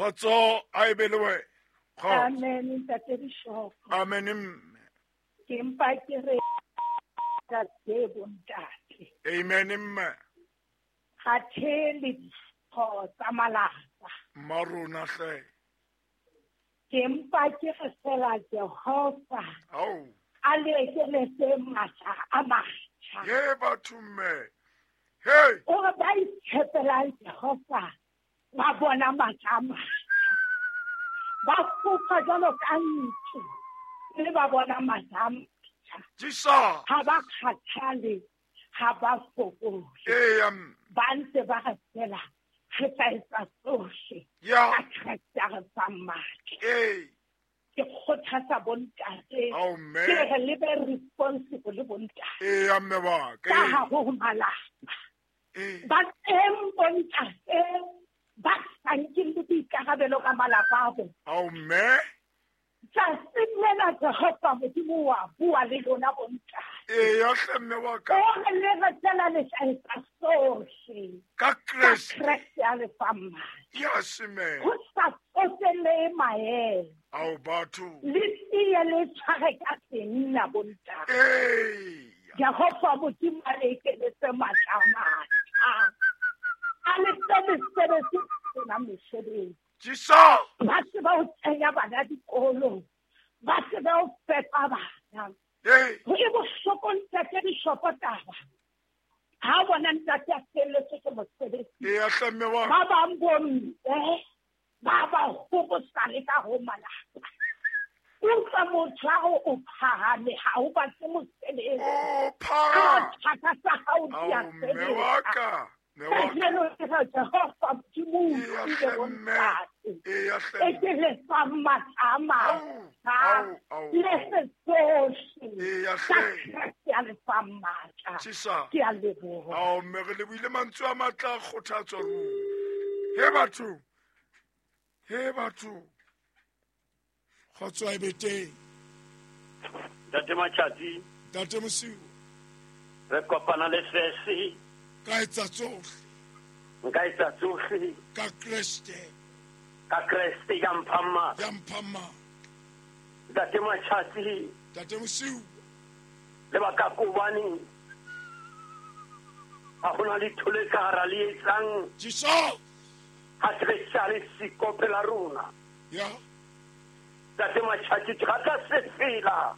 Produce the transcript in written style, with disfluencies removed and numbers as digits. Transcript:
Kgotso a e be le wena. Kgotso. Amen, ntate Bishop. Amen mme. Ke mpa ke re ka tse bontate. Amen mme. Ga the le ditho tsa malapa. Mma rona hle. Ke mpa ke re fela Jehova. Ao. A le ekeletse matla a matjha. Ye batho mme. Hey. O re ba itshepelang Jehova ba bona matla a matjha. Ba fofa jwalo ka ntsu mme ba bona matla a matjha. Jesus. Ha ba kgathale, ha ba fokole. Eya mme. Ba ntse ba re fela re tla etsa tsohle Ya. ka Kreste a re fang matla. Ee. Ke kgothatsa bontate. Ao mme. Ke re le be responsible bontate. Eya mme wa ka. Ka hare ho malapa. Ee. Ba teng bontate ba sa nkeng le boikarabelo ka malapa a bona. Ao mme. Tsatsing lena Jehova Modimo wa bua le lona bontate. Eya hle mme wa ka. O re le re tsela le tla etsa sohle. Ka Ka Kreste. Kreste a le fang matla. Yes mme. Ho sa tsotelle maemo. Ao batho. Le tiye le tshware ka senna bontate. Ee. Jehova Modimo a le ekeletse matla a matjha. A le fe mesebetsi e senang mesebetsi. Jesus. Ba tsebe ho kenya bana dikolong. Ba tsebe ho fepa bana. Ee. Ho e bohloko ntate Bishopo taba. Ha o bona ntate a felletswe ke mosebetsi. Eya hle mme wa ka. Ba bang bomme ba ba hobosa le ka ho malapa. Utlwa motho a re o phahame ha o batle mosebetsi. O Ka phahame. thaka tsa hao di a Ao mme wa sebetsa. ka. Mme wa ka. Kajeno ke re Jehova Modimo o Eya utlwile hle mme. bontate. Eya hle E mme. ke le fang matla a Ao, matjha. ao, ao, Le ao. se tsohle. Eya Ka hle. Kreste a le fang matla. Jesus. Ke a leboha. Ao mme re lebohile mantswe a matla a kgothatso ruri. He batho. He batho. Kgotso a e be teng. Ntate Matjhatsi, Ntate Mosiu, re kopana le fese, ka etsa tsohle nka etsa tsohle ka Kreste ka Kreste ya mphang matla. ya mphang matla. Ntate Matjhatsi, Ntate Mosiu, lebaka ke hobane ha hona letho le ka hara le etsang Jesus. ha Kreste a le siko pela rona. Ya. Ntate Matjhatsi, ke rata sefela